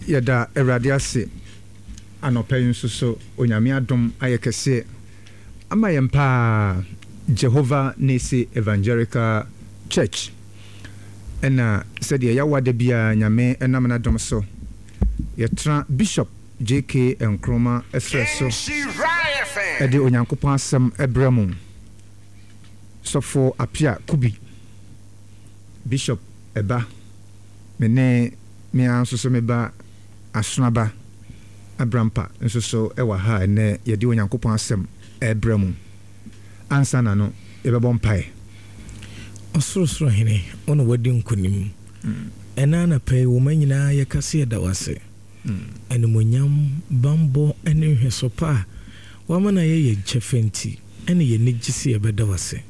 Yɛda Awurade ase anɔpa yi nso so Onyame adom ayɛ kɛseɛ ama yɛn paa Jehovah Nisi Evangelical Church ɛna sɛdeɛ yɛawa da biara Nyame nam n'adom so yɛtra Bishop JK Nkrumah serɛ so de Onyankopɔn asɛm brɛ mo Sɔfo Appiah Kubi Bishop ɛba me ne me ara nso so me ba Asonaba Abrampa nso so wɔ ha a ɛnnɛ yɛde Onyankopɔn asɛm rebrɛ mo. Ansa na no, yɛbɛbɔ mpae. Ɔsorosoro Hene, wo na woadi nkonim. Ɛnnɛ anɔpa yi, wo mma nyinaa yɛka sɛ yɛda wo ase. Animuonyam, bammɔ ne nhwɛso pa a woama no ayɛ yɛn kyɛfa nti, ɛne yɛn ani gye sɛ yɛbɛda wo ase.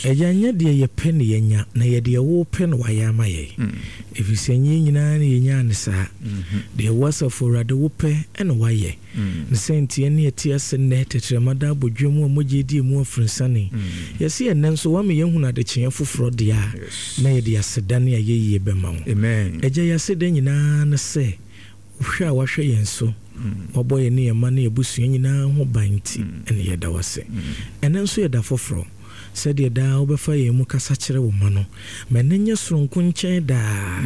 Agya, nyɛ deɛ yɛpɛ na yɛanya, na yɛ deɛ wopɛ na woayɛ ama yɛn. Ɛfiri sɛ ɛnyɛ yɛn nyinaa na yɛnyaa no saa. Deɛ wo Asafo Awurade wopɛ na woayɛ. Ne saa nti yɛne yɛte ase nnɛ, tɛkyerɛma da abodwoɔ mu a mogya redi emu afurunsane. Yɛse ɛnnɛ nso woama yɛahunu adekyeeɛ foforɔ deɛ a, na yɛde aseda ne ayɛyie bɛma wo. Agya, yɛn aseda nyinaa ne sɛ, Hwɛ a wahwɛ yɛn so, wabɔ yɛne yɛn mma ne yɛn abusua nyinaa ho ban nti na yɛda wo ase. Ɛnnɛ nso yɛ da foforɔ. Sɛdeɛ daa wobɛfa yɛn mu kasa kyerɛ wo mma no, ma ɛnnɛ nyɛ soronko nkyɛn daa.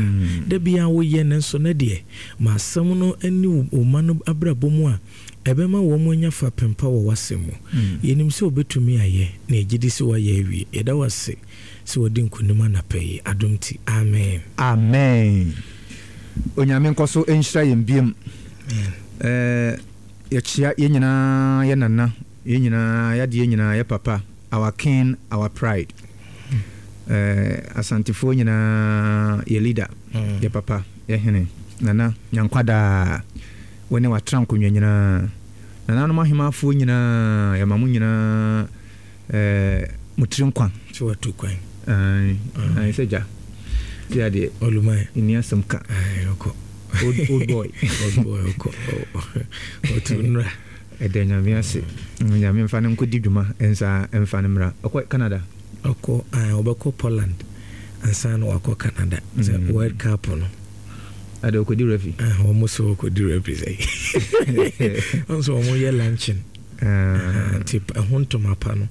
Da biara woyɛ, nanso nnɛ deɛ, ma asɛm no nni wo mma no abrabɔ mu a ɛbɛma wɔn anya fapem pa wɔ w'asɛm mu. Yɛnim sɛ wobɛtumi ayɛ, na yɛgye di sɛ woayɛ awie. Yɛda wo ase sɛ wadi nkonim anapa yi. Adom nti, amen. Amen. Onyame nkɔ so nhyira yɛn biom. Eh, yɛkyea yɛn nyinaa yɛ nana, yɛn nyinaa yɛadeɛ nyinaa yɛ papa, our king, our pride. Eh, Asantefoɔ nyinaa yɛ leader, yɛ papa, yɛ hene, nana, nyankwadaa, wo ne watra nkonnwa nyinaa. Nananom ahemafoɔ nyinaa, yɛma mo nyinaa Eh, mo tiri nkwa. Sɛ watu kwan. Ae, ae sɛ gya. Ti adeɛ. Oluman. Nni asɛm ka. Ae, ɔkɔ. Old, old boy. Old boy, ɔkɔ. Ɔtu nnura. Ɛda Nyame ase. Nyame mfa no nkɔdi dwuma nsa mfa no mmra. Ɔkɔ Canada? Ɔkɔ, ae, ɔbɛkɔ Poland ansa na wakɔ Canada. Sɛ World Cup no. Ada ɔkɔdi referee? Ah, wɔn sɛ ɔkɔdi referee sɛ. Wɔn sɛ wɔn yɛ luncheon. Nti ɛho ntoma pa no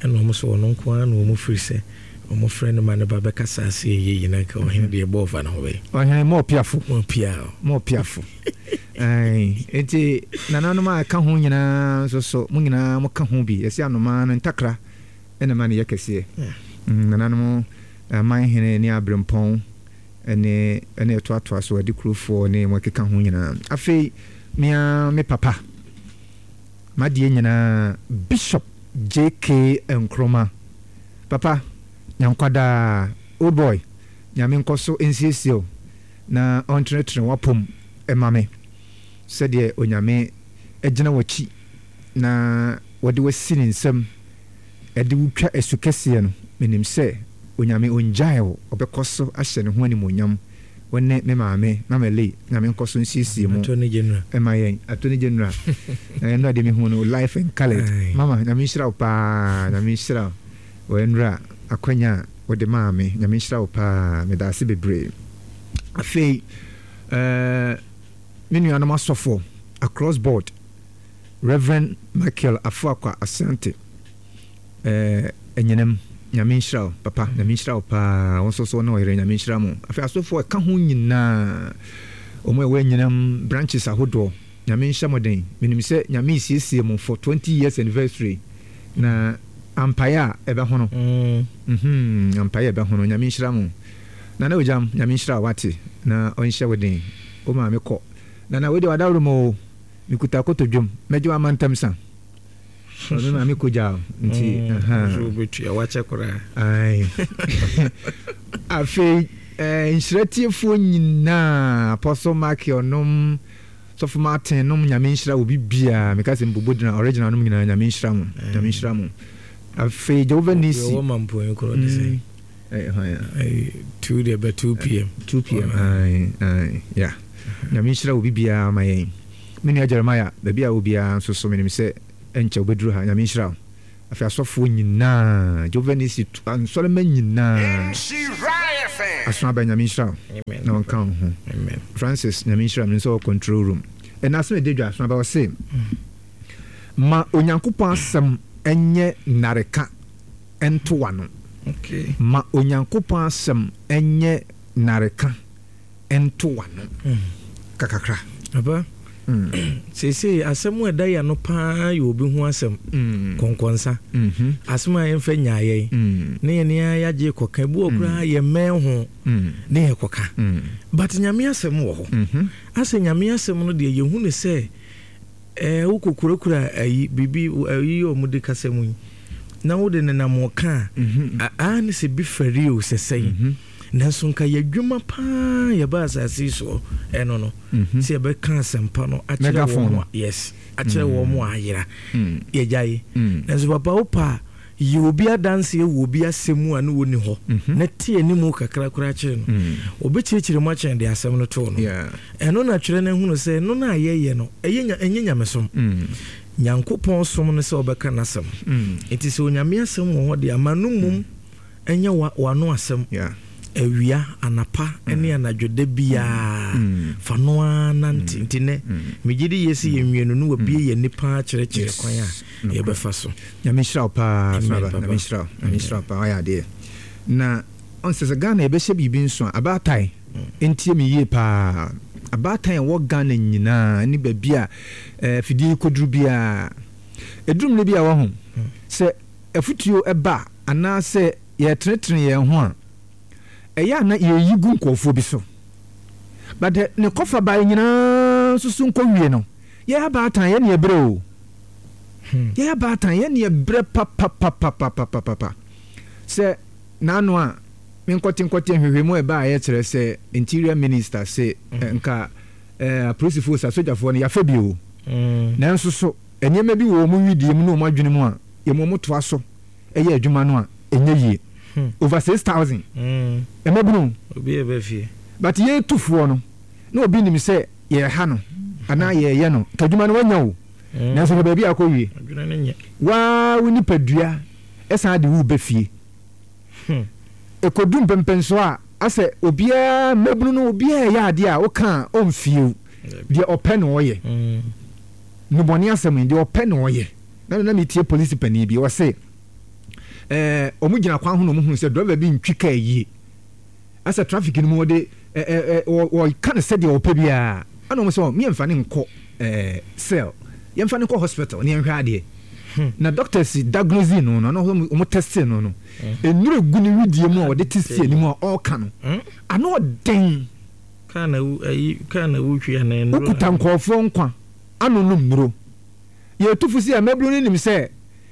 ɛna wɔn sɛ ɔno nko ara na wɔn firi sɛ wɔn frɛ no ma ne ba bɛkasa ase ɛyɛ yi na nka ɔhene deɛ bɔɔ fa ne ho bɛyɛ. Ɔhene mo ɔpiafo. Mo ɔpia o. Mo ɔpiafo. Nti nananom a ɛka ho nyinaa nso so mo nyinaa mo ka ho bi yɛsi anomaa no ntakra ɛna ma no yɛ kɛseɛ. Nananom aman hene ne abrempɔn ne ɛna ɛtoatoa so adikurofoɔ ne wɔn ɛkeka ho nyinaa. Afei me ara me papa. M'adeɛ nyinaa Bishop JK Nkrumah papa nyankwa daa old boy Nyame nkɔso nsiesie wo na ɔntrenetene w'apom ma me sɛdeɛ Onyame agyina w'akyi na wɔde wo asi ne nsam de wo twa asu kɛseɛ no menim sɛ Onyame ɔngyae wo ɔbɛkɔ so ahyɛ ne ho animuonyam Wo ne me maame, Mama Lee, Nyame nkɔ so nsiesie mo Attorney General. ma yɛn. Attorney General, ɛnora deɛ mehu no life and coloured. Mama, Nyame nhyira wo paa, Nyame nhyira wo wɔ ɛnora akwanya a wode maa me. Nyame nhyira wo paa, meda ase bebree. Afei, eh, me nuanom asɔfoɔ across board, Reverend Michael Afuakwa Asante, Eh Anyinam Nyame nhyira wo papa Nyame nhyira wo paa wo nso so ne ɔyere Nyame nhyira mo afei asɔfoɔ ɛka ho nyinaa wɔn a ɛwɔ Anyinam branches ahodoɔ Nyame nhyɛ mo den menim sɛ Nyame resiesie mo for 20 years anniversary na ampaeɛ a ɛbɛhono mm ampaeɛ a ɛbɛhono Nyame nhyira mo Nana Ogyam Nyame nhyira wo wate na ɔnhyɛ wo den wo maame kɔ Nana wei deɛ wadaworo mu o mekuta kotodwom mɛgye wo ama ntɛm sa. Ɔno na me kogya nti. Nso wobɛtua wakyɛ koraa. Afei nhyira tiefoɔ nyinaa Apostle Michael nom Sɔfo Martin nom Nyame nhyira obi biara meka sɛ mbobo dina original nom nyinaa Nyame nhyira mo Nyame nhyira mo afei Jehovah Nisi Wɔ ma mpoe korɔ de sɛ 2 deɛ bɛ 2 pm 2 pm ae ae yeah Nyame nhyira obi biara ma yɛn. Me nua Jeremiah, baabi a wɔ biara nso so menim sɛ ɛnkyɛ wobɛduru ha. Nyame nhyira wo. Afei asɔfoɔ nyinaa, Jehovah Nissi nsɔremma nyinaa. Aso aba Nyame nhyira wo na ɔnka wo ho. Francis Nyame nhyira me nso wɔ control room. Ɛna asɛm ɛda dwa aso aba ɔse ma Onyankopɔn asɛm nyɛ nnareka nto w'ano. Ma Onyankopɔn asɛm nyɛ nnareka nto w'ano kakakra. Papa, seesei asɛm a ɛda yɛn ano paa yɛ obi ho asɛm, kɔnkɔnsa. Asɛm a yɛmfa nyaa yɛn, ne yɛn ara yɛagye kɔka. Ebi wɔ koraa yɛmmɛn ho ne yɛkɔka. But Nyame asɛm wɔ hɔ. Asɛ Nyame asɛm no deɛ yɛhu no sɛ Ɛɛ, wokɔkurakura ayi, biribi, ayi a wɔde kasa mu yi, na wode nenam ɔka a, aa ne sɛ bi fɛre o, sɛ sɛn. Nanso nka yɛ adwuma paa yɛba asase yi soɔ ɛno no, sɛ yɛbɛka asɛmpa no akyerɛ wɔn a, yes, akyerɛ wɔn a ayera, yɛgyae. Nanso papa wopɛ a, Yɛ obi adanseɛ wɔ obi asɛm mu a ne ɔnni hɔ, na te animu kakra koraa kyerɛ no. Ɔbɛkyerɛkyerɛ mu akyɛn deɛ asɛm no too no. Ɛno na twerɛ no ahunu sɛ ɛno no a yɛyɛ no, ɛyɛ nya, ɛnyɛ nyamesom. Nyankopɔn som ne sɛ ɔbɛka n'asɛm. Nti sɛ Onyame asɛm wɔ hɔ deɛ a, ma no mmom nyɛ wa, w'ano asɛm. Awia, anapa ne anadwo da biara, fa no ara nante. Nti nnɛ, megye di yie sɛ yɛnwie no na wabue yɛn ani paa kyerɛkyerɛ kwan a yɛbɛfa so. Nyame nhyira wo paa Amen papa. Nyame nhyira wo. Nyame nhyira wo paa. Wayɛ adeɛ. Na ɔn sɛ sɛ Ghana yɛbɛhyɛ biribi nso a abaatan ntie me yie paa. Abaatan a ɛwɔ Ghana nyinaa ne baabi a eh, afidie yi kɔduru biara. Ɛduru mmerɛ bi a wahu sɛ afutuo ɛba anaasɛ yɛretenetene yɛn ho a ɛyɛ a na yɛyi gu nkurɔfoɔ bi so. But ne kɔfa bae nyinaa nso so nkɔwie no yɛ abaatan yɛ ne ɛbrɛ o. Yɛyɛ abaatan, yɛn deɛ brɛ papapapapapapa. Sɛ n'ano a, me nkɔte nkɔte nhwehwɛmu a ɛbaeɛ kyerɛ sɛ Interior Minister se nka apolisifoɔ sɛ asogyafoɔ no yɛafa bi o. Nanso so nneɛma bi wɔ wɔn wedeɛ mu ne wɔn adwene mu a yɛma wɔn toa so yɛ adwuma no a ɛnyɛ yie. Over 6,000 mmabunu. But yɛtufoɔ no na obi nim sɛ yɛreha no anaa yɛreyɛ no, nka adwuma no wanya o. Nanso hwɛ baabi a akɔwie. Wo ara wo nipadua san de wo reba fie. Ɛkɔdu mpɛnpɛnsoɔ a, asɛ obiara, mmabunu no, obiara reyɛ adeɛ a woka a ɔmfie wo. Deɛ ɔpɛ na ɔyɛ. Nnubɔne asɛm yi, deɛ ɔpɛ na ɔyɛ. Na na metie polisi panin bi, ɔse ɛɛ wɔn gyina kwan ho na wɔn hunu sɛ driver bi ntwi kaa yie. Asɛ traffic no mu wɔde ɛ ɛ ɛ wɔka no sɛdeɛ ɔpɛ biara ɛna wɔn sɛ wɔn yɛnfa no nkɔ ɛɛ cell yɛnfa no nkɔ hospital ne yɛnhwɛ adeɛ na doctors diagnose no no na wɔn wɔn test no no nnuro egu ne widie mu a wɔde te si anim a ɔreka no ano ɔden. Kaa na ayi kaa na wotwi anaa nnuro. Wokuta nkurɔfoɔ nkwa ano nom nnuro. Yɛ tu fo sɛ mmabunu no nim sɛ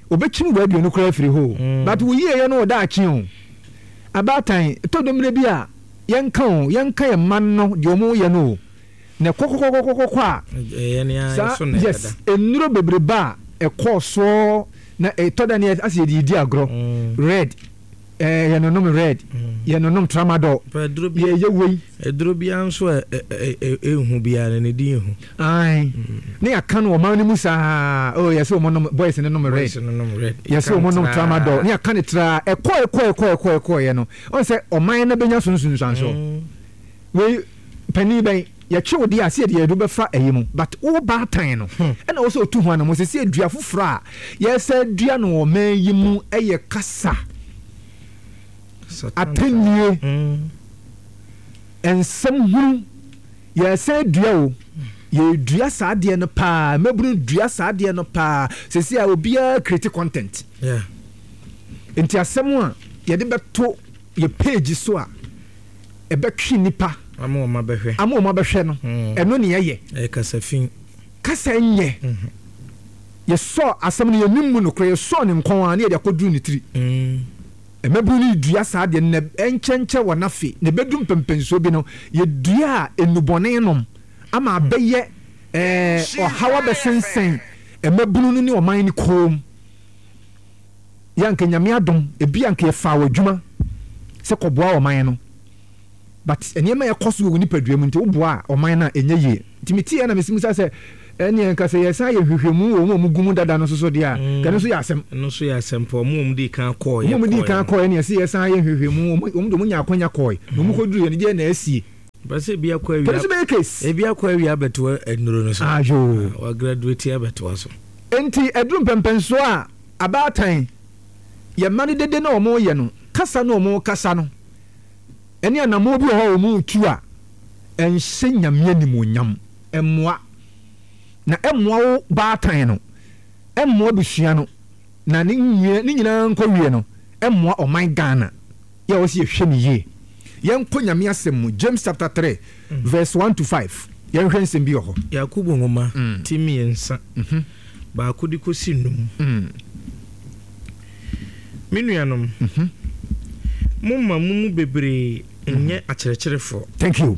wɔbɛkyim w'aduonu koraa afiri hɔ o, but wo yieyɛ no wɔ daakye o. Abaatan, ɛtɔ da mmerɛ bi a yɛnka o, yɛnka yɛn mma no deɛ wɔn reyɛ no o, na ɛkɔkɔkɔkɔkɔ a, saa, yes, nnuro bebrebe a ɛkɔɔ soɔ na ɛtɔ da no asɛ yɛde redi agorɔ, red, Eh, yɛnonom red, yɛnonom tramadol, yɛyɛ wei. Aduro biara nso a ɛnhu biara no, ne din hu. Ae, ne yɛaka no ɔman no mu saa, oh, yɛsɛ wɔn nom, boys no nom red, yɛsɛ wɔn nom tramadol, ne yɛaka no traa, ɛkɔ ɛkɔ ɛkɔ ɛkɔ ɛkɔ yɛ no, ɔn sɛ ɔman no bɛnya so nsunsuansoɔ. Wei, panin bɛn, yɛtwe wo deɛ a, sɛ yɛde yɛn bɛfa ɛyi mu, but wo baatan no, ɛna wɔ sɛ otu ho anamɔ, sɛ sɛ dua foforɔ a yɛsɛ dua no wɔ ɔman yi mu ɛyɛ kasa, atɛnnie, nsɛm hunu, yɛsɛ dua o, yɛdua saa adeɛ no paa, mmabunu dua saa adeɛ no paa, sɛsi a obiara create content. Nti asɛm a yɛde bɛto yɛ page so a, ɛbɛtwe nnipa ama wɔn abɛhwɛ, ama wɔn abɛhwɛ no, ɛno ne ɛyɛ. Ɛyɛ kasa fi. Kasa nyɛ. Yɛsɔ asɛm no, yɛnim mu nokorɛ, yɛsɔ ne nkɔn a, ne yɛde akɔduru ne tiri. Mmabunu no dua saa adeɛ no, na ɛnkyɛnkyɛ wɔn afe, na ɛbɛdu mpɛmpɛnsoɔ bi no, yɛdua a nnubɔne nom ama abɛyɛ ɛɛ ɔhaw abɛsensɛn mmabunu no ne ɔman no kɔn mu. Yɛ anka Nyame adom ebi anka yɛfaa wo adwuma sɛ kɔboa ɔman no but nneɛma a ɛkɔ so wɔ wo nipadua mu nti woboa ɔman no a ɛnyɛ yie. Nti meteeɛ na mesi mu sa sɛ Ɛnneɛ nka sɛ yɛsan yɛ nhwehwɛmu wɔ wɔn a wɔgu mu dada no nso so deɛ a, nka ɛno nso yɛ asɛm. Ɛno nso yɛ asɛm paa. Wɔn a wɔdii kan kɔeɛ Wɔn a wɔdii kan kɔeɛ no. kɔeɛ no, yɛse yɛsan yɛ nhwehwɛmu. Wɔn, wɔn deɛ wɔnyaa akwanya kɔeɛ, na wɔkɔduruiɛ no, deɛn na asie? Pɛ sɛ ebi akɔ Nka ɛno awia, nso bɛyɛ case. ebi akɔ awia abɛtoa nnuro no so. Ayoo. Ah, wagraduate abɛtoa so. Enti ɛduru mpɛnpɛnsoɔ a, abaatan, yɛn mma no dede no a wɔreyɛ no, kasa no a wɔrekasa no, ɛne anammɔn bi wɔ hɔ a wɔretu a, ɛnhyɛ Nyame animuonyam. Ɛmmoa. Na ɛmmoa wo baatan no, ɛmmoa abusua no, na ne nwie ne nyinaa nkɔwie no, ɛmmoa ɔman Ghana. Yɛ a ɔsɛ yɛhwɛ no yie. Yɛnkɔ Nyame asɛm mu, James chapter 3 verse 1 to 5. Yɛnhwɛ nsɛm bi wɔ hɔ. Yakobo nwoma ti mmiɛnsa, baako de kɔsi num. Me nuanom, momma mo mu bebree nyɛ akyerɛkyerɛfoɔ. Thank you.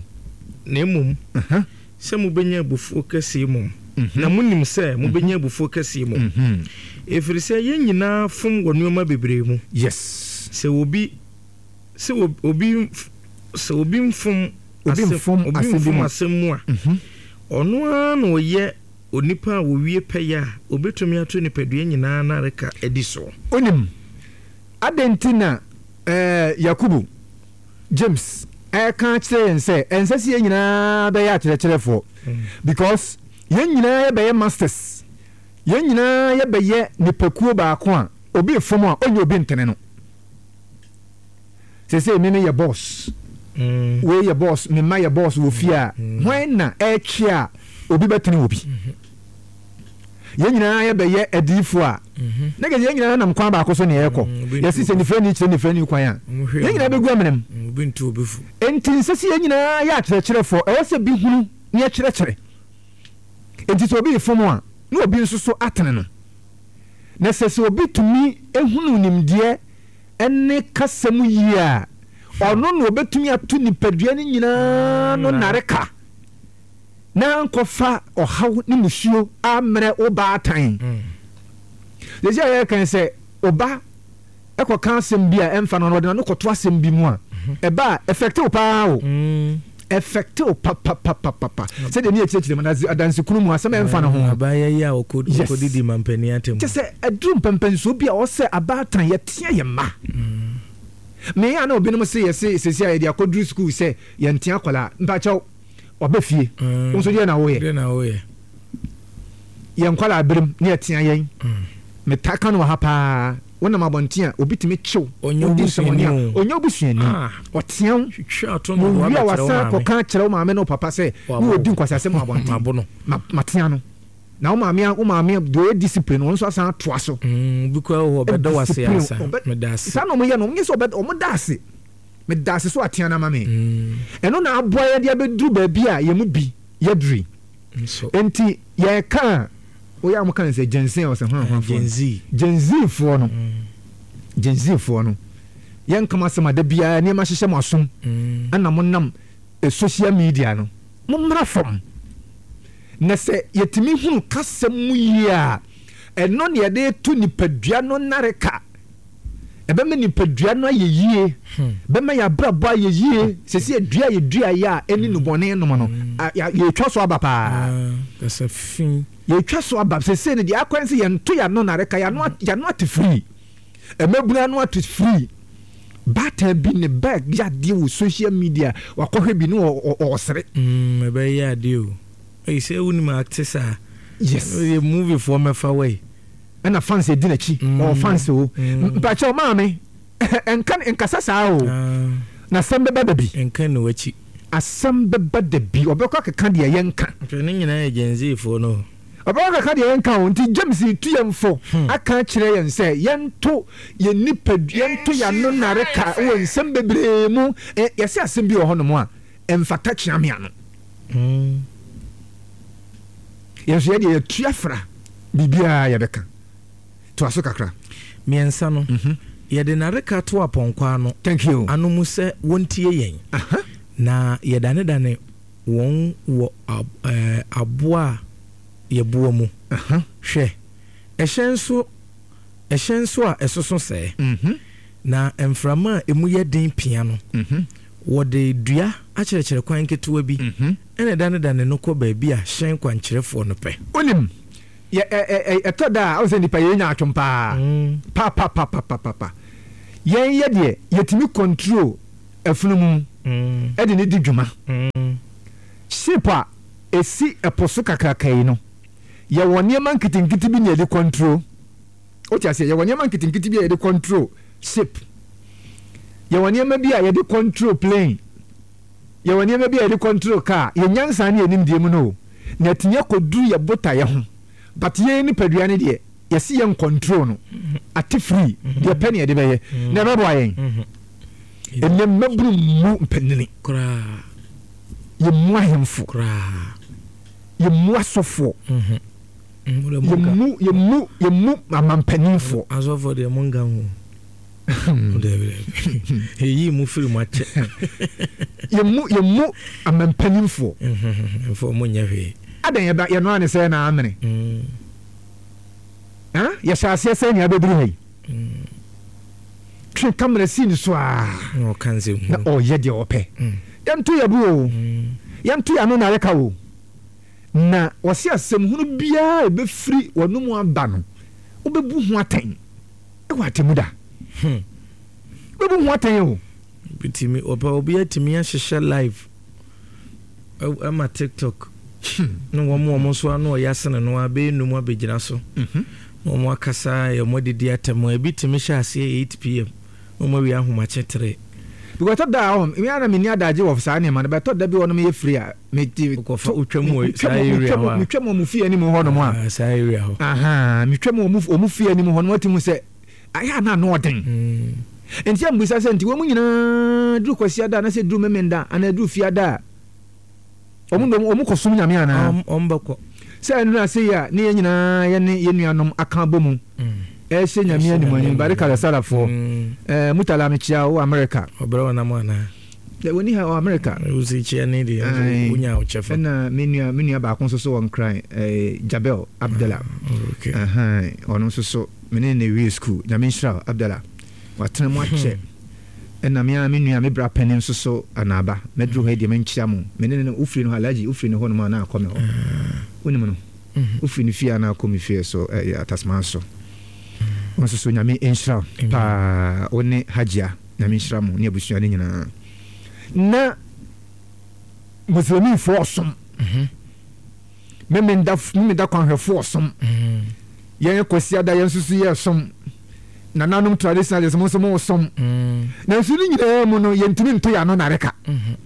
Na mmom sɛ mobɛnya abufuo kɛseɛ mmom, na monim sɛ mobɛnya abufuo kɛseɛ mmom, ɛfiri sɛ yɛn nyinaa fom wɔ nneɛma bebree mu. Yes. Sɛ obi, sɛ obi, sɛ obi mfom Obi mfom obi asɛm bi mfom mu a. asɛm mu a, ɔno ara na ɔyɛ onipa a ɔwie pɛyɛ a ɔbɛtumi ato nipadua nyinaa nnareka adi soɔ. Wonim, adɛn nti na ɛɛ Yakubu, James, ɛreka akyerɛ yɛn sɛ ɛnsɛ sɛ yɛn nyinaa bɛyɛ akyerɛkyerɛfoɔ? Because yɛn nyinaa yɛbɛyɛ masters, yɛn nyinaa yɛbɛyɛ nipakuo baako a obi refom a ɔnyɛ obi ntene no. Seesei me meyɛ boss, wei yɛ boss, me mma yɛ boss wɔ fie a, hwan na ɛretwe a obi bɛtene obi? Yɛn nyinaa yɛbɛyɛ adiyifoɔ a, na kɛ sɛ yɛn nyinaa nam kwan baako so na yɛrekɔ. Yɛse sɛ nifirani kyerɛ nifirani kwan a, yɛn nyinaa bɛgu amena mu. Enti nsɛ sɛ yɛn nyinaa yɛ akyerɛkyerɛfoɔ, ɛwɔ sɛ bi hunu na yɛkyerɛkyerɛ. Enti sɛ obi refom a, na obi nso so atene no. Na sɛ sɛ obi tumi hunu nimdeɛ ne kasa mu yie a, ɔno na ɔbɛtumi ato nipadua no nyinaa no nnareka na ankɔfa ɔhaw ne musuo ammrɛ wo baatan. Sɛsi a yɛreka sɛ ɔba ɛkɔka asɛm bi a ɛmfa no no, ɔde n'ano kɔto asɛm bi mu a, ɛba a ɛfɛkte wo paa o. Ɛfɛkte wo papapapapa. Sɛdeɛ ne yɛkyerɛkyerɛ mu no, adansekunu mu asɛm a ɛmfa no ho. Abaayewa yi a ɔkɔdidi mampanin atɛm. Kyɛ sɛ ɛduru mpɛmpɛnsoɔ bi a ɔwɔ sɛ abaatan yɛteɛ yɛn mma. Me a na obinom se yɛse sɛsi a yɛde akɔduru sukuu sɛ yɛntea akwadaa. Mpakyɛw, waba fie. Wo nso deɛ na woyɛ? Deɛ na woyɛ? Yɛn nkwadaa berem ne yɛtea yɛn. Metaa ka no wɔ ha paa. Wonam abɔnten a, obi tumi kye wo. Ɔnyɛ Wodi nsɛmmɔne obusuani a, o. ɔnyɛ obusuani. Ah. Ɔtea wo. Twitwa ato no de Wɔwie a wabɛkyerɛ wo wasan maame. akɔka akyerɛ wo maame ne wo papa sɛ ne Wabo wɔdi nkwaseasɛm wɔ abɔnten. Mabo no. Ma, matea no. Na wo maame a, wo maame deɛ ɔyɛ discipline no, ɔno nso asan atoa so. Mm, obi koraa wɔ hɔ ɔbɛda wo ase Discipline, ansa. ɔbɛ, Meda ase. saa na wɔyɛ no, wɔnyɛ sɛ ɔbɛ, wɔda ase. Meda ase so atea no ama me. Ɛno na aboa yɛn de abɛduru baabi a yɛn mu bi yɛaduru yi. Nso. Enti yɛreka a, woyɛ a wɔka no sɛ Gen Z a ɔsɛ hwan hwan foɔ no. Gen Z. Gen Z foɔ no. Gen Z foɔ no. Yɛnka mo asɛm a da biara nneɛma hyehyɛ mo asom. Ɛna monam social media no. Mommra fam. Na sɛ yɛtumi hunu kasa mu yie a, ɛno na yɛde reto nipadua no nnareka. Ɛbɛma nipadua no ayɛ yie, bɛma yɛn abrabɔ ayɛ yie. Sɛsi adua a yɛduaeɛ a ɛne nnubɔne nom no, yɛretwa so aba paa. Kasa fi. Yɛretwa so aba. Sɛsei no deɛ akwan sɛ yɛnto yɛn ano nnareka, yɛn ano ate firi. Mmabunu ano ate firi. Baatan bi ne bag yɛ adeɛ wɔ social media, wakɔhwɛ bi ne ɔresere. Ɛbɛyɛ adeɛ o. Ei, sɛ wonim acte saa. Yes. Yɛ movie foɔ mɛfa wei. Ɛna fans edi n'akyi. Ɔwɔ fans o. Mpakyɛw maame, nka nkasa saa o. Na asɛm bɛba da bi. Nka nni w'akyi. Asɛm bɛba da bi. Ɔbɛkɔ akeka deɛ yɛnka. Hwɛ ne nyinaa yɛ Gen Z foɔ no o. Ɔbɛkɔ akeka deɛ yɛnka o. Nti James retu yɛn fo aka akyerɛ yɛn sɛ yɛnto yɛn nipadua, yɛnto yɛn ano nnareka wɔ nsɛm bebree mu. Yɛse asɛm bi wɔ hɔnom a, ɛmfata kyeame ano. Yɛn nso yɛdeɛ yɛtu afra biribiara yɛbɛka. Toa so kakra. Mmiɛnsa no, yɛde nnareka to apɔnkɔ ano Thank you. ano mu sɛ wɔntie yɛn, na yɛdanedane wɔn wɔ aboa a yɛboa mu. Hwɛ, ɛhyɛn so ɛhyɛn so a ɛsoso sɛɛ, na mframa a emu yɛ den pia no. Wɔde dua akyerɛkyerɛ kwan ketewa bi na ɛdanedane no kɔ baabi a hyɛn kwankyerɛfoɔ no pɛ. Wonim, yɛ, ɛ, ɛ, ɛ, ɛtɔ da a, wohu sɛ nnipa yɛyɛ nyaatwom paa. Papapapapapa. Yɛn yɛ deɛ, yɛtumi control afunumu de no di dwuma. Ship a ɛsi ɛpo so kakraka yi no, yɛwɔ nneɛma nketenkete bi na yɛde control. Wote aseɛ? Yɛwɔ nneɛma nketenkete bi a yɛde control ship. Yɛwɔ nneɛma bi a yɛde control plane. Yɛwɔ nneɛma bi a yɛde control car. Yɛn nyansa ne yɛn nimdeɛ mu no o, na atumi akɔduru yɛn botaeɛ ho. But yɛn nipadua no deɛ, yɛse yɛn control no. Ate free, deɛ pɛ ne yɛde bɛyɛ. Na ɛbɛboa yɛn. Ɛnnɛ mmabunu mmu mpanyini. Yɛmmu ahemfo. Yɛmmu asɔfoɔ. Yɛmmu, yɛmmu, yɛmmu amampaninfoɔ. Asɔfoɔ deɛ monka ho. Dabi dabi. Yɛyii mo firi mu akyɛ. Yɛmmu, yɛmmu amampaninfoɔ. Mfa ɔmo nyɛ hwee. Adɛn yɛba, yɛnoa ne sɛɛ na amene. Ha? Yɛhyɛ aseɛ sɛn na yɛabɛduru ha yi? Twe kamera si ne so aa. Na ɔka nsɛm hunu. Na ɔyɛ deɛ ɔpɛ. Yɛnto yɛn bo o. Yɛnto yɛn ano na yɛka o. Na wɔse asɛm hunu biara a ɛbɛfiri w'anomu aba no, wobɛbu ho atɛn wɔ atemmuda. Hmm. Wobɛbu ho atɛn o. Bitumi, ɔpɛ obi atumi ahyehyɛ live ɛma TikTok. Hmm. Ne wɔn wɔn nso ano ɔyɛ asene no abɛyɛ num abɛgyina so. Mhm. Na wɔn akasa yɛ wɔn adidi atɛm. Ebi tumi hyɛ aseɛ 8 pm. Na wɔn awie ahomakye tere. Because ɛtɔ da a ɔhɔ, me ara na menni adagye wɔ saa nneɛma no, but ɛtɔ da bi wɔnom yɛ free a, me te Wokɔfa wotwam wɔ saa area hɔ a. Metwam wɔn fie anim hɔ nom a. Ah, saa area hɔ. Aha, metwam wɔn wɔn fie anim hɔ nom ati hu sɛ ayɛ a na ano ɔden. Mm. Nti a mbisa sɛ nti wɔn nyinaa duru Kwasiada anaasɛ duru Memenda anaa duru Fiada a wɔn de wɔn kɔ som Nyame anaa? Wɔn bɛkɔ. Sɛ ɛno ase yi a ne yɛn nyinaa yɛne yɛn nuanom aka abɔ mu ɛrehyɛ Nyame animuonyam Barika da Salafoɔ. Mm. Mutala mekyia wo America. Ɔbrɛ wɔn nam anaa? Dɛ wɔnni ha wɔ America. Wo si kyia ne deɛ nso wonya wo kyɛfa. Ɛna me nua me nua baako nso so wɔ Nkran ɛɛ Jabel Abdallah. Ah, okay. Ahan ɔno nso so me ne ne wie school. Nyame nhyira wo Abdallah. Watena mu akyɛ. Ɛna me ara me nua me bra panin nso so Anaaba. Mɛduru hɔ yi deɛ menkyia mo. Me ne no wofiri no hɔ Alhaji wofiri ne hɔ nom a na akɔ me hɔ. Wonim no? Wofiri ne fie a na akɔ me fie so ɛyɛ Atasman so. Wo nso so Nyame nhyira wo paa wo ne Hajia. Nyame nhyira mo ne abusua no nyinaa. Na Muslimifoɔ ɔsom. Mhm. Memenda memenda kwanhwɛfoɔ ɔsom. Mhm. Yɛn Kwasiada yɛn nso so yɛ som. Nananom traditionalists mo nso mo som. Mhm. Nanso ne nyinaa mu no yɛntumi nto yɛn ano nareka. Mhm.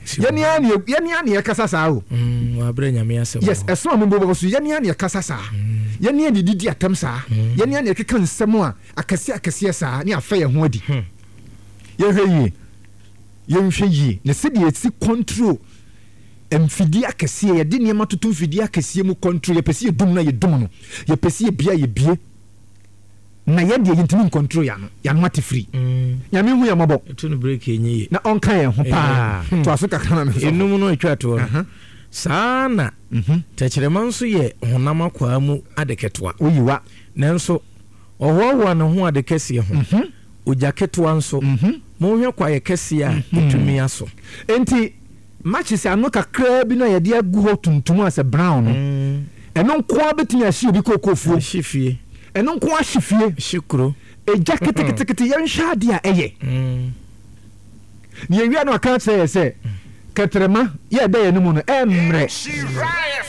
Yɛne ara ne yɛne ara ne yɛkasa saa o. Mm, wabrɛ Nyame asɛm. Yes, ɛso a mo bɔ so yɛne ara ne yɛkasa saa. Mm. Yɛne ara ne yɛdidi atɛm saa. Mm. Yɛne ara ne yɛkeka nsɛm a akɛseɛ akɛseɛ saa ne afɛ yɛn ho adi. Hmm. Yɛnhwɛ yie. Yɛnhwɛ yie. Na sɛdeɛ yɛsi control mfidie akɛseɛ, yɛde nneɛma toto mfidie akɛseɛ mu control, yɛpɛ sɛ yɛdum no a yɛdum no, yɛpɛ sɛ yɛbie a yɛbie. Na yɛn deɛ yɛntumi ncontrol yɛn ano, yɛn ano ate firi. Mm. Nyame hu yɛn mmɔbɔ. Ɛto no break ɛnyɛ yie. Na ɔnka yɛn ho paa. Hmm. Toa so kakra ma me sɔfo. Enum no atwa toɔ no. Aha. Saa na Mhm. tɛkyerɛma nso yɛ honam akwaa mu ade ketewa. Woyi wa. Nanso ɔhoahoa ne ho ade kɛseɛ ho. Ogya ketewa nso, monhwɛ kwaeɛ kɛseɛ a ɛtumi asɔ. Enti matches ano kakraa bi no a yɛde agu hɔ tuntum a sɛ brown no, ɛno nko ara bɛtumi ahye obi kookoofuo. Ahye fie. Ɛno nko ara hye fie. Hye kuro. Egya ketekete, yɛnhwɛ adeɛ a ɛyɛ. Na yɛwie a na waka akyerɛ yɛ sɛ kɛtrɛma yɛ ɛda yɛn mu no ɛmmerɛ.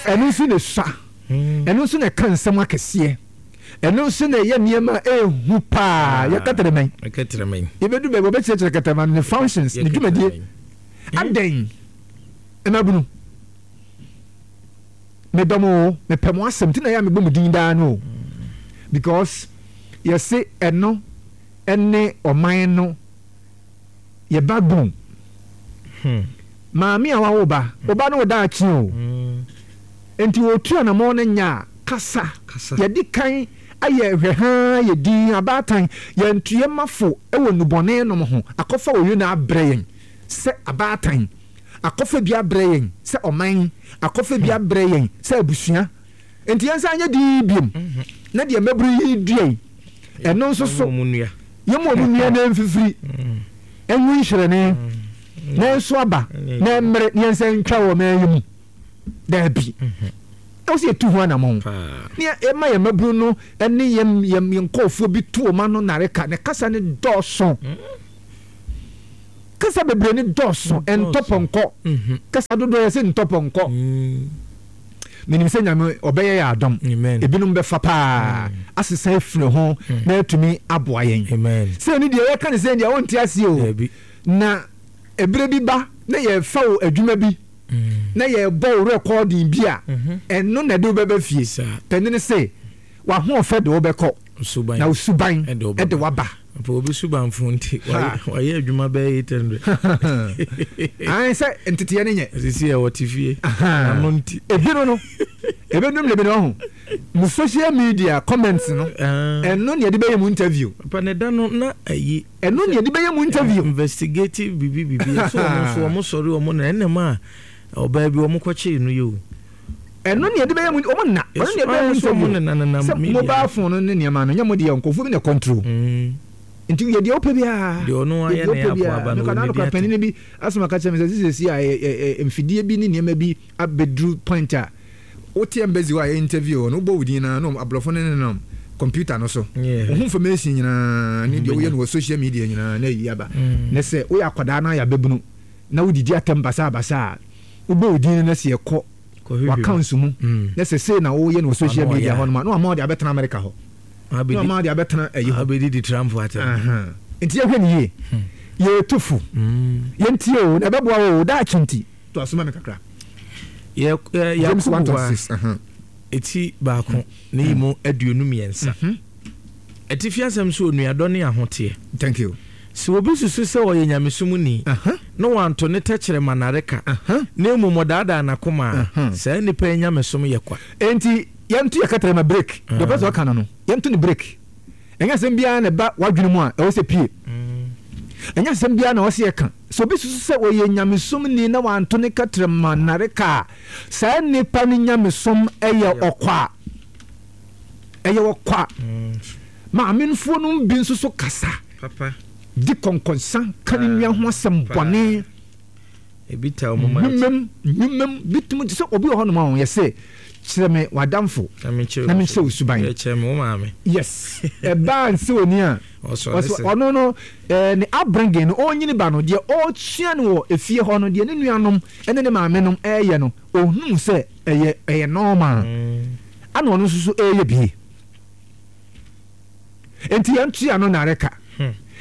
Ɛno nso na ɛsua. Ɛno nso na ɛka nsɛm akɛseɛ. Ɛno nso na ɛyɛ nneɛma a ɛyɛ hu paa. Yɛ kɛtɛrɛmɛn. Kɛtɛrɛmɛn. Yɛbɛdu baabi wɔbɛkyerɛkyerɛ kɛtɛrɛmɛn ne functions, ne dwumadie. Adɛn? Mmabunu, medɔ mo o, mepɛ mo asɛm nti na ɛyɛ a mebɔ mo din daa no o. Because yɛse ɛno ɛne ɔman no yɛ backbone. Hmm. Maame a wawo ba, wo ba no wo daakye o. Hmm. Nti wɔtu anamɔn no nya a, kasa. Kasa. Yɛdi kan ayɛ hwɛhaa yɛ din abaatan, yɛnto yɛn mafo wɔ nnubɔne nom ho, akɔfa oyo na abrɛ yɛn sɛ abaatan, akɔfa bi abrɛ yɛn sɛ ɔman, akɔfa bi abrɛ yɛn sɛ abusua. Nti yɛnsan nyɛ din biom. Mm-hmm. Na deɛ mmabunu yi dua yi, ɛno nso so, Yɛmma yɛmma wɔn nnua na ɛmfifiri, ɛnwo nhyerɛne. Na ɛnso aba na ɛmmere na yɛnsan ntwa wɔ ɔman yi mu. Daabi. Ɛwɔ sɛ yɛtu ho anammɔn. Ne yɛma yɛn mmabunu no ne yɛn yɛn yɛn nkurɔfoɔ bi to wɔn ano nnareka. Ne kasa no dɔɔso. Kasa bebree no dɔɔso. Ɛntɔ pɔnkɔ. Kasa dodoɔ yɛ sɛ ntɔ pɔnkɔ. Menim sɛ Nyame ɔbɛyɛ yɛ adom. Ebinom bɛfa paa asesa afiri ho na atumi aboa yɛn. Sɛ ɛno deɛ yɛka ne sɛ deɛ wonte aseɛ o. Na ɛberɛ bi ba na yɛfa wo adwuma bi na yɛbɔ wo rɛkɔɔdin bi a, ɛno na ɛde wo bɛba fie. Panin se, w'ahoɔfɛ de wo bɛkɔ, na wo suban de wo aba. Papa obi suban fo nti wayɛ adwuma bɛyɛ 800. Ae sɛ nteteɛ no nyɛ. Sisi ɛ wɔte fie. Ano nti. Ebi no no ebedum de bi no ɔho. Mo social media comments no ɛno na yɛde bɛyɛ mu interview. Papa ne da no na ayi. Ɛno na yɛde bɛyɛ mu interview. Investigative bibi bibi ɛso wɔn nso wɔn sɔre wɔn na ɛnam a ɔbaa bi wɔn kɔkyee no yɛ o. Ɛno na yɛde bɛyɛ mu wɔn nna ɛno na yɛde bɛyɛ mu interview sɛ mobile phone no ne nneɛma no nyɛ mo deɛ nkurɔfoɔ bi na control mm. Nti yɛ deɛ wopɛ biara, yɛ deɛ wopɛ biara. Mekɔ na nokora panin bi asɛm aka kyerɛ me sɛ sisi a mfidie bi ne nneɛma bi abɛduru point a wote embassy hɔ a yɛ interview hɔ no wobɔ wo din na no aborɔfo no nenam computer no so wo ho information nyinaa ne deɛ woyɛ no wɔ social media nyinaa na ayi aba mm. Na sɛ woyɛ akwadaa na ayɛ abɛbunu na wodidi atɛm basabasa a wobɔ wo din no na sɛ yɛkɔ w'accounts mu na sɛ sei na woyɛ no wɔ social media hɔ nom a na wama wode abɛtena America hɔ na wama wode abɛtena ayi hɔ abɛdidi Trump atɛm. Nti yɛhwɛ no yie, yɛtu fo, yɛntie o na ɛbɛboa wo o daakye nti. To aso ma me kakra. James 1:26. Eti baako ne yi mu 23. Atifi asɛm so onuadɔ ne ahoteɛ. Thank you. Sɛ obi susu sɛ ɔyɛ nyamesomni, na wanto ne tɛkyerɛma nnareka, na mmom ɔdaadaa n'akoma a, saa nipa yi nyamesom yɛ kwa. Enti yɛnto yɛn kɛtrɛma break. Deɛ ɔpɛ sɛ ɔka no no, yɛnto no break. Ɛnyɛ asɛm biara na ɛba w'adwene mu a ɛwɔ sɛ pue. Ɛnyɛ asɛm biara na ɛwɔ sɛ yɛka. Sɛ obi susu sɛ ɔyɛ nyamesomni na wanto ne kɛtrɛma nnareka a, saa nipa no nyamesom yɛ ɔkwa. Ɛyɛ ɔkwa. Maamenfoɔ no bi nso so kasa di kɔnkɔnsa ka ne nua ho asɛm bɔne. Nnwumam, nnwumam bi tumi te sɛ obi wɔ hɔnom a wɔyɛ sɛ kyerɛ me w'adamfo na menkyerɛ wo suban. Yes, ɛbaa nsɛ oni a ɔno no ne upbringing no ɔnyini ba no deɛ ɔresua no wɔ efie hɔ no deɛ ne nuanom ne ne maame nom ɛreyɛ no ɔhunu sɛ ɛyɛ ɛyɛ normal ana ɔno nso so ɛreyɛ bie. Enti yɛn tua no nnareka.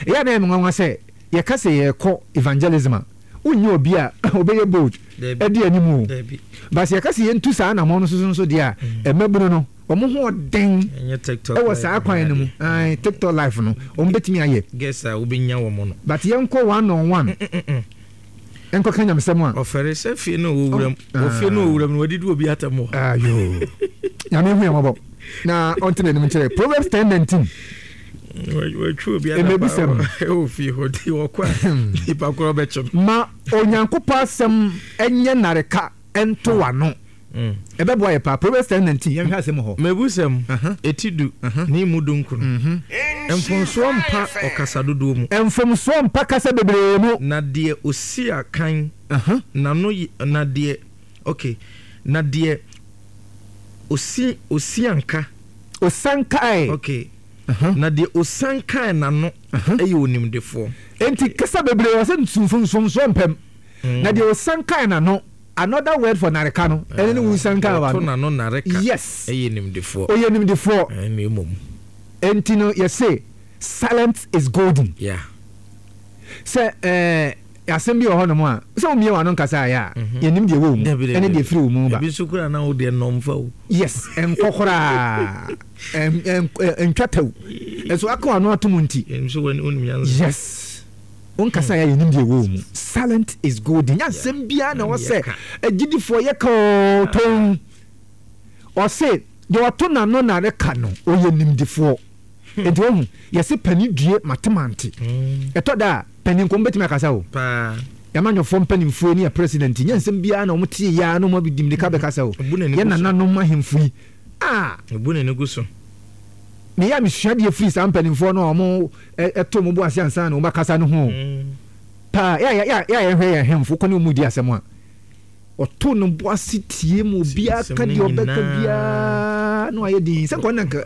Ɛyɛ a na ɛyɛ me nwanwa sɛ yɛka sɛ yɛrekɔ evangelism a, wonnya obi a ɔbɛyɛ bold adi anim o. But sɛ yɛka sɛ yɛntu saa anammɔn no so nso deɛ a, mmabunu no, wɔn ho ɔden wɔ saa kwan no mu. Ae, TikTok life no, wɔn bɛtumi ayɛ. But yɛnkɔ one on one. Nkɔka nyamesɛm a. Ɔfɛre sɛ fie no ɔwɔ wuram. Wɔ fie no ɔwɔ wuram no wadidi obi atɛm wɔ. Ayo. Nyame hu yɛn mmɔbɔ na ɔnte n'anim nkyerɛ. Proverbs 10:19. Watwi obi adapa wɔ fie hɔ nti ɔkɔ a nipa korɔ bɛkye no. Ma Onyankopɔn asɛm nyɛ nnareka nto w'ano. Ɛbɛboa yɛ paa. Proverbs 10:19, yɛnhwɛ asɛm wɔ hɔ. Mebusɛm, eti du, ne emu dunkron. Mfomsoɔ mpa ɔkasa dodoɔ mu. Mfomsoɔ mpa kasa bebree mu. Na deɛ ɔsi akan n'ano yɛ, na deɛ, okay, na deɛ ɔsi, ɔsianka. Ɔsiankae. Okay, na deɛ ɔsiankae n'ano yɛ onimdefoɔ. Enti kasa bebree, ɔsɛ mfomsoɔ mpa mu. Na deɛ ɔsiankae n'ano. Another word for nareka no, ɛne ne wunsanka wa no. Ɔto n'ano nareka. Yes. Ɛyɛ nimdefoɔ. Ɔyɛ nimdefoɔ. Ɛne mmom. Enti no yɛse silent is golden. Yeah. Sɛ ɛɛ asɛm bi wɔ hɔnom a, sɛ womie w'ano nkasa ayɛ a, mhm. yɛnim deɛ ɛwɔ wo mu ɛne deɛ ɛfiri wo mu ba. Ebi nso koraa na wo deɛ nnɔmfa o. Yes, ɛnkɔ koraa. Ɛntwa tɛw. Ɛso aka w'ano ato mu nti. Yes. Wo nkasa yɛ yɛnim deɛ ɛwɔ wo mu. Silent is golden. Nyɛ asɛm biara na ɛwɔ sɛ agyidifoɔ yɛ ka oo tɔn. Ɔse deɛ ɔto n'ano na reka no ɔyɛ nimdifoɔ. Nti wahu yɛse panin due mate mante. Ɛtɔ da a panin nko bɛtumi akasa o. Yɛamanyɔfoɔ mpanimfoɔ ne yɛ president nyɛ nsɛm biara na wɔn te yɛ ara na wɔn adi mmirika bɛkasa o. Yɛ nananom ahemfo yi ah. Ebu n'ani gu so. Meyɛ a mesua deɛ firi saa mpanimfoɔ no a wɔn to wɔn bo ase ansa na wɔn akasa no ho o. paa. Yɛ a yɛ a yɛhwɛ yɛn ahemfo kɔ ne wɔn di asɛm a, ɔto ne bo ase tie ma obiara ka deɛ ɔbɛka biara na wayɛ din sɛ nka ɔne nka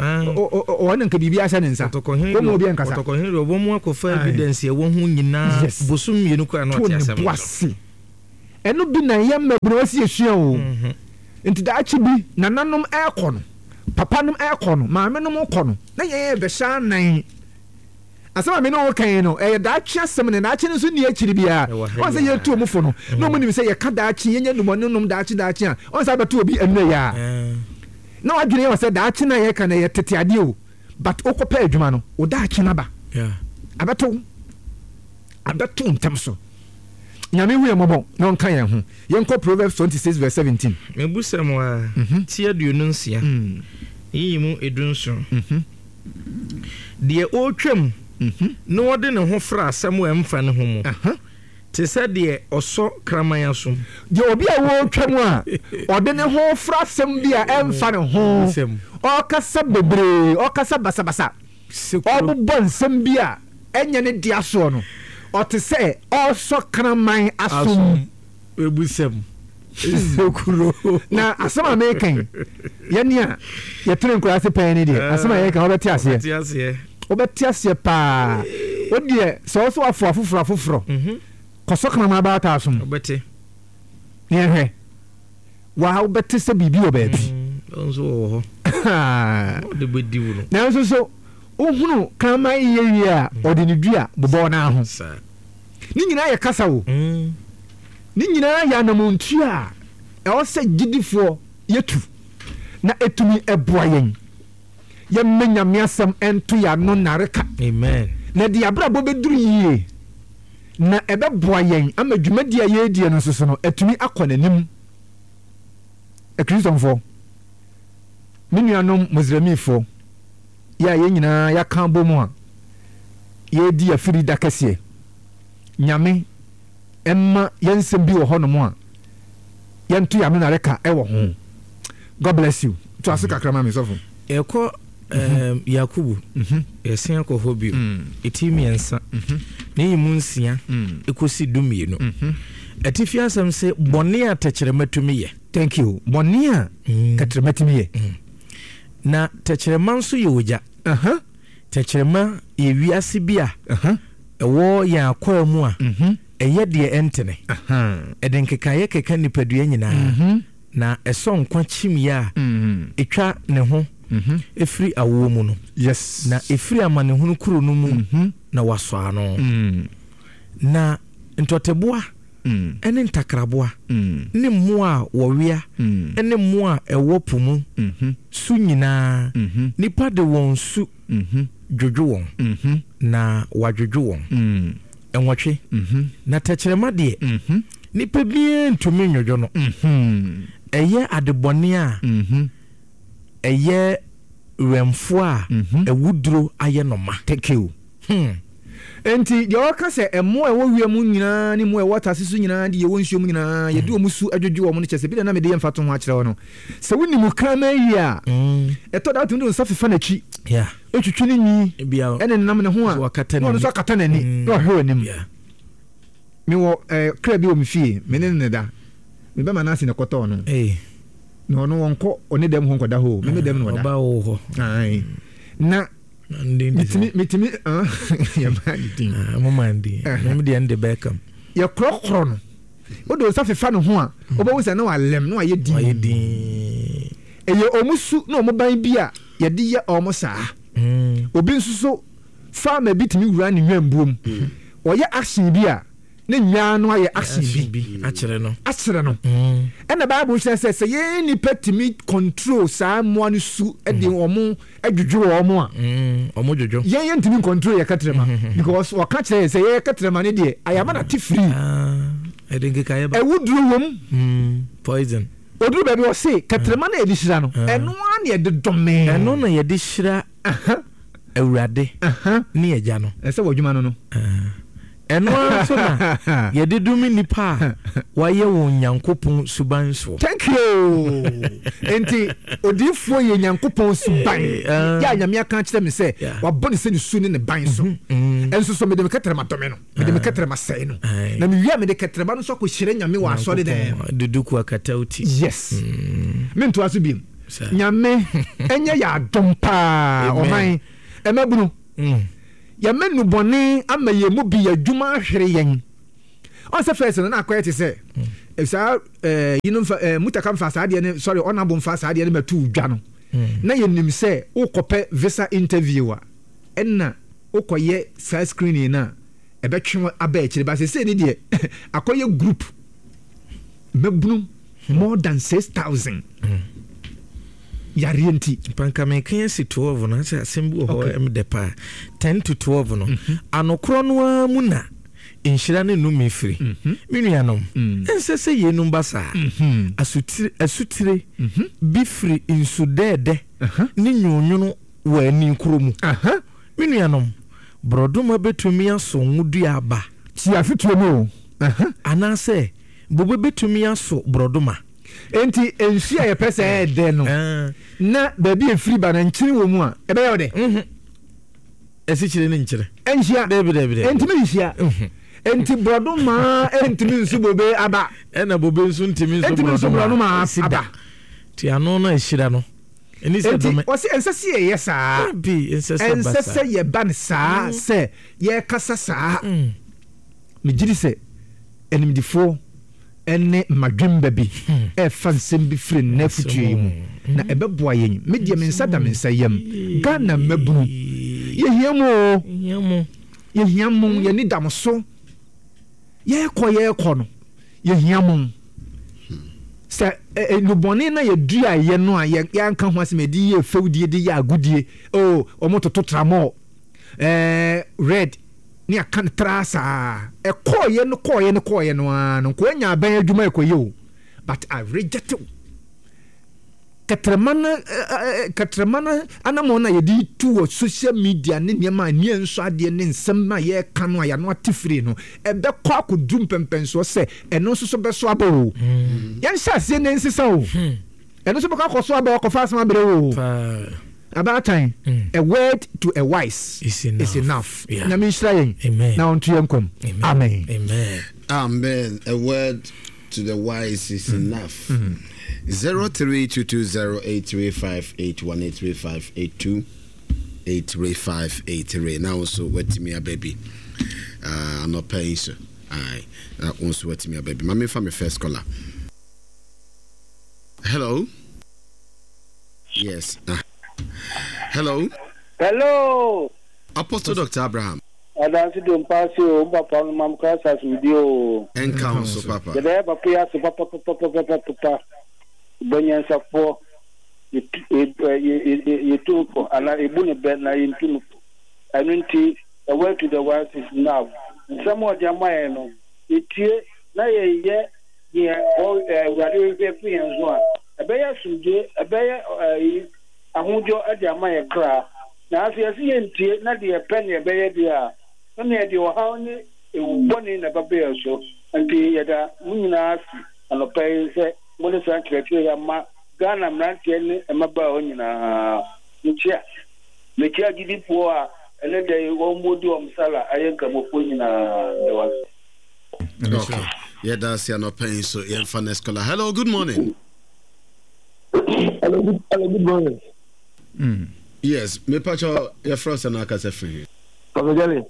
ɔne nka biribi ahyɛ ne nsa wɔn obi nkasa. Ɔtɔkɔhene deɛ wɔn akɔfa evidence ɛwɔ ho nyinaa bosom mmienu koraa na ɔte asɛm no so. To ne bo ase. Ɛno bi na yɛn mmabunu ɛsɛ yɛsua o. Nti daakye bi nananom ɛrekɔ no, papanom ɛrekɔ no, maamenom rekɔ no, na yɛn yɛbɛhyɛ anan. Asɛm a me ne wo reka yi no, ɛyɛ daakye asɛm na daakye no nso nni akyiri biara. Ɔn sɛ yɛtu wɔn fo no, na wɔn nim sɛ yɛka daakye, yɛnya nnubɔne nom daakye daakye a, ɔn sɛ abɛto obi ɛnnɛ yi ara. Na wadwene yɛ wɔ sɛ daakye no a yɛka no ɛyɛ tete adeɛ o, but wokɔpɛ adwuma no, wo daakye no aba. Abɛto wo. Abɛto wo ntɛm so. Nyame hu yɛn mmɔbɔ na ɔnka yɛn ho. Yɛnkɔ Proverbs 26 verse 17. Mebusɛm a, ti 26, yiyi mu 17. Deɛ ɔretwam na ɔde ne ho fra asɛm a ɛmfa ne ho mu te sɛ deɛ ɔsɔ kraman asom. Deɛ obi a ɔretwam a ɔde ne ho fra asɛm bi a ɛmfa ne ho, ɔrekasa bebree, ɔrekasa basabasa, ɔrebobɔ nsɛm bi a ɛnyɛ ne dea soɔ no, ɔte sɛ ɔresɔ kraman asom. Webusɛm. Sekuro. Na asɛm a meka yi, yɛne a yɛtene nkuraase pɛn ne deɛ, asɛm a yɛka wobɛte aseɛ. Wobɛte aseɛ. Wobɛte aseɛ paa. Wo deɛ, sɛ wo so wafo afoforɔ afoforɔ, mhm. kɔsɔ kraman abaata asom. Wobɛte. Ne yɛhwɛ. Waa wobɛte sɛ biribi wɔ baabi. Mm, nso wɔ hɔ. Ɔde bɛdi wo no. Nanso so wohunu kraman yɛ wie a, mm. ɔde ne dua bobɔ n'aho. Ne nyinaa yɛ kasa o. Ne nyinaa yɛ anamontuo a ɛwɔ sɛ gyidifoɔ yɛtu na ɛtumi ɛboa yɛn. Yɛmma Nyame asɛm ɛnto yɛn ano nnareka. Amen. Na ɛde yɛn abrabɔ bɛduru yie na ɛbɛboa yɛn ama dwumadie a yɛredie no nso so no atumi akɔ n'anim. Akristofoɔ, me nuanom Muslimfoɔ, yɛ a yɛn nyinaa yɛaka abom a yɛredi afiri da kɛseɛ. Nyame mma yɛn nsɛm bi wɔ hɔnom a yɛnto yɛn ano nareka wɔ ho. God bless you. To ase kakra ma me sɔfo. Yɛkɔ um, Yakubu, mhm. yɛsen akɔ hɔ bio, mm. ɛti mmiɛnsa mhm. ne yi mu nsia mm. ɛkɔsi 12. Mhm. Atifi asɛm sɛ bɔne a tɛkyerɛma tumi yɛ. Thank you. Bɔne a tɛkyerɛma tumi yɛ. Na tɛkyerɛma nso yɛ ogya. Tɛkyerɛma yɛ wiase bi a ɛwɔ yɛn akwaa mu a mhm. ɛyɛ deɛ ɛntene. Ɛde nkekaeɛ keka nipadua nyinaa, mhm. na ɛsɔ nkwa kyimiiɛ a mhm. ɛtwa ne ho ɛfiri awoɔ mu no. Yes. Na ɛfiri amanehunu kuro no mu na wasɔ ano. Na ntɔteboa ne ntakraboa ne mmoa a wɔwea ne mmoa a ɛwɔ po mu su nyinaa, nnipa de wɔn su dwodwo wɔn, na wɔadwodwo wɔn. Nwɔtwe. Na tɛkyerɛma deɛ, nnipa biara ntumi nnwodwo no. Ɛyɛ adebɔne a ɛyɛ werɛmfoɔ a awuduro ayɛ no ma. Thank you. Hmm. Enti deɛ ɔka sɛ mmoa a ɛwɔ wiem nyinaa ne mmoa a ɛwɔ asase so nyinaa de yɛwɔ nsuo mu nyinaa yɛde wɔn su adwodwo wɔn no kyerɛ sɛ bi na na mede yɛ mfatoho akyerɛ wo no. Sɛ wonim kraman yie a, ɛtɔ da wotumi de wo nsa fefa n'akyi, ɛtwitwi ne nwi, ɛne nenam ne ho a, na ɔno nso akata n'ani na ɔhwɛ w'anim. Mewɔ eh, kra bi wɔ me fie, me ne no na ɛda. Me bɛma no ase na ɛkɔtɔɔ no. Na ɔno ɔnkɔ ɔne dɛm hɔ nkɔda hɔ o, me me dɛm na ɔda. Ɔba wo hɔ. Na metumi metumi ah, yɛmaa ne din. Ah, mo maa ne din. Mem deɛ nde Beckham. Yɛkorɔkorɔ no. Wode nsa fefa ne ho a, mm. wobɛhu sɛ na walɛm na wayɛ din. Wayɛ din. Ɛyɛ ɔmo su na ɔmo ban bi a yɛde yɛ ɔmo saa. Mm. Obi nso so farmer bi tumi wura ne nwambuom. Mm. Ɔyɛ action bi a ne nnwaa no ayɛ action bi akyerɛ no akyerɛ no mm. Ɛna Bible kyerɛ sɛ sɛ yɛn nipa tumi control saa mmoa no su de mm. wɔn adwudwo wɔn a mm, wɔn dwodwo yɛn yɛn ntumi control yɛ kɛtrɛma because wɔka kyerɛ yɛ sɛ yɛ kɛtrɛma ne deɛ ayama na te firi ah, ɛde nkekaeɛ ba ɛwuduro wɔm poison oduru baabi ɔse kɛtrɛma na yɛde hyira no ah. Ɛno ara na yɛde dɔme ɛno na yɛde hyira Awurade ne Agya no. Ɛsɛ wɔ adwuma no no. Ɛno ara nso na yɛde dome nnipa a wɔayɛ wɔn Nyankopɔn suban soɔ. Thank you. Enti odiyifoɔ yɛ Nyankopɔn suban. Yɛ a Nyame aka akyerɛ me sɛ wabɔ ne sɛ ne su ne ne ban so. Ɛnso so mede me kɛtrɛma dome no, mede me kɛtrɛma sɛe no. Na mewie a mede kɛtrɛma no nso akɔhyira Nyame wɔ asɔre dan mu. De duku akata wo ti. Yes. Mentoa so biom. Nyame ɛnyɛ yɛ adom paa ɔman mmabunu. Yɛma nnubɔne ama yɛn mu bi yɛ adwuma ahwere yɛn. Ɔn sɛ first no na akɔyɛ te sɛ mm. saa eh, yinom fa eh, mutaka mfa saa adeɛ no sorry ɔnabo mfa saa adeɛ no mɛto dwa no. Mm. Na yɛnim sɛ wokɔpɛ visa interview a ɛna wokɔyɛ saa screening no a ɛbɛtwe aba akyire ba sɛsɛ ne deɛ akɔyɛ group mmabunu more than 6000 yareɛ nti. Mpa nka meka asi 12 no asɛ asɛm bi wɔ hɔ ɛm dɛ paa 10 to 12 no mhm. anokorɔ no ara mu na nhyira ne nnome firi mhm. me nuanom mm. ɛnsɛ sɛ yeinom ba saa mhm. asutire asutire bi firi nsu dɛɛdɛ ne nwonwono wɔ ani korɔ mu me nuanom borɔdoma bɛtumi aso ngodua aba ti afetuo mu o anaasɛ Bobe betumi aso borɔdɔma. Enti nsu a yɛpɛ sɛ ɛyɛ dɛ no, na baabi a efiri ba no nkyene wɔ mu a, ɛbɛyɛ wo dɛ? Asikyire ne nkyene. Ɛnhyia. Dabi, dabi, dabi. Ɛntumi nhyia. Enti borɔdɔma ntumi nso bobe aba. Ɛna bobe nso ntumi nso borɔdɔma aba. Ti ano no a ɛhyira no. Ɛni sɛ dome. Enti wɔsi ɛnsɛ sɛ yɛyɛ saa. Dabi, ɛnsɛ sɛ ɛba saa. Ɛnsɛ sɛ yɛba no saa sɛ yɛkasa saa. Megye di sɛ animdefoɔ ne mmadwemma bi refa nsɛm bi firi nnɛ afotuo yi mu, na ɛbɛboa yɛn. Me deɛ me nsa da me nsa yam. Ghana mmabunu, yɛhia mo o. Yɛhia mo, yɛn ani da mo so. Yɛrekɔ yɛrekɔ no, yɛhia mo. Sɛ nnubɔne na yɛduaeɛ no a yɛanka ho asɛm, yɛde yɛ fɛwdie, de yɛ agodie, oh, wɔtoto tramɔɔ, eh, red, ne aka no traa saa ɛkɔɔyɛ no kɔɔyɛ no kɔɔyɛ no ara no nkoa nya aban adwuma ɛkɔyɛ o but I reject wo kɛtrɛma no kɛtrɛma no anamɔn na yɛde tu wɔ social media ne nneɛma a nea nso adeɛ ne nsɛm a yɛreka no a yɛano ate firi no ɛbɛkɔ akɔduru mpɛmpɛnsoɔ sɛ ɛno nso so bɛso aba o hmm. yɛnhyɛ aseɛ na nsesa o hmm. ɛno nso bɛkɔ akɔ so aba akɔfa asɛm abrɛ o Abaatan, a word to a wise is enough. Nyame nhyira yɛn na ɔnto yɛn nkwa mu. Amen. Amen. A word to the wise is mm. enough. Mm. 0322083581 83582 83583. Now also watimi aba bi. Ah, anɔpa yi so. Aye. Na also watimi aba bi. Mame fa me first caller. Hello. Yes. Uh, hello. Hello. Apostle Dr. Abraham. Adansi do mpaase o, mpapa no mam kra asase wudi o. Enka ho so papa. Yɛda yɛ papa yi ase papa papa papa papa. Bɛnyansafoɔ yɛtu no fo anaa ebu no bɛ na yɛntu no fo. Ɛno nti, the word to the wise is now. Nsɛm a ɔde ama yɛn no, yɛtie na yɛyɛ Deɛ Awurade hwehwɛ firi yɛn so a, ɛbɛyɛ asomdwoeɛ, ɛbɛyɛ ɛyi, ahodwo de ama yɛn kra. Nanso yɛse yɛntie na deɛ yɛpɛ na yɛbɛyɛ deɛ a, ɛnna yɛde ɔhaw ne ewu bɔne na ɛbɛba yɛn so. Enti yɛda mo nyinaa ase anɔpa yi sɛ mode saa nkyerɛkyerɛ yi ama Ghana mmeranteɛ ne mmabaawa nyinaa. Mekyea mekyea agyidifoɔ a ɛnnɛ da yi wɔredi wɔn sala ayɛ Nkramofoɔ nyinaa. Meda wo ase. Okay. Yɛda ase anɔpa yi nso yɛmfa next caller. Hello, good morning. Hello, good, hello, good morning. Yes, me pacho yɛfrɛ sɛ na akasa firi he. Pastor Jelly.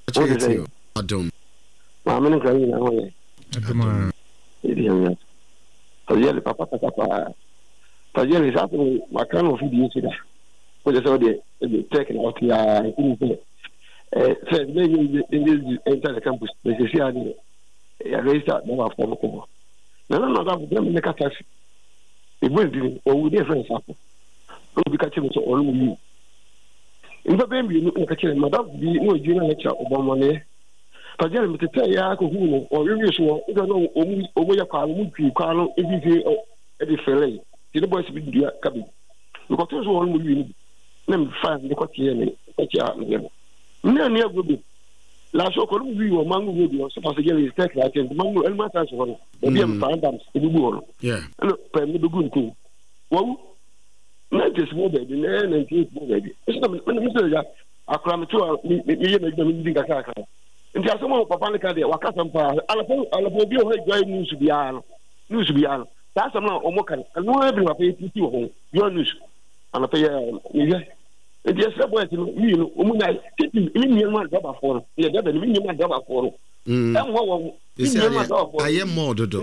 Pacho yɛ tie adom. Maame ne nkura nyinaa ho yɛ. Adom a. Ebi yɛn yɛ. Pastor Jelly papa kasa paa. Pastor Jelly saa asɛm maka no wɔ fidie so da. Wọ́n sɛ ɔdeɛ ɛde tech na ɔte aa nti ne sɛ ɛɛ sɛ ɛbɛ yɛ yɛ yɛ enter the campus na sisi adeɛ yɛ register bɛma fɔm kɔ hɔ. Na na madamfo bi na me ne ka taxi. Ebu ne din, ɔwu ne yɛfrɛ no Safo. Ɛna obi ka kyerɛ me sɛ ɔno wu. Nnipa bɛyɛ mmienu na ka kyerɛ me, madamfo bi na ɔyɛ junior lecturer ɔbɔ mmɔneɛ. Pagya no metetɛɛ yɛ ara kɔhuu no, ɔwewe so hɔ, ɛna na ɔmo yɛ kwaa no, ɔmo twi kwaa no mfimfini de fɛlɛe. Nti ne boys bi dua cabbage. Mekɔtoo so hɔ no mo wie no bi, na mefa de kɔteɛ me kɔkyea me yɛ no. Me ne agorɔ bi. Last week ɔno mu wi wɔ mango road hɔ sɛ pastor jerry tech na akyɛn mango ɛnum asan so hɔ no baabi a mfa dams ebubu hɔ no ɛna pɛm ne bɛgu ntom wawu 90s mu baabi na 98 mu baabi ɛsɛ na me sɛ ya. Akora mete hɔ a meyɛ m'adwuma medidi nkakrakra. Nti asɛm a papa no ka deɛ wakasɛm paa. Anɔpa anɔpa obi wɔ hɔ adwa news biara no news biara no saa asɛm no a wɔn ka no ɛno ara bi na papa yi ti wɔ ho joy news anɔpa yi mehwɛ. Nti yɛsrɛ boys no mii no wɔn nya titi ne nneɛma adrabafoɔ no yɛ dɛbɛ no me nneɛma adrabafoɔ no ɛmmoa wɔn me nneɛma adrabafoɔ no ayɛ mɔɔ dodo.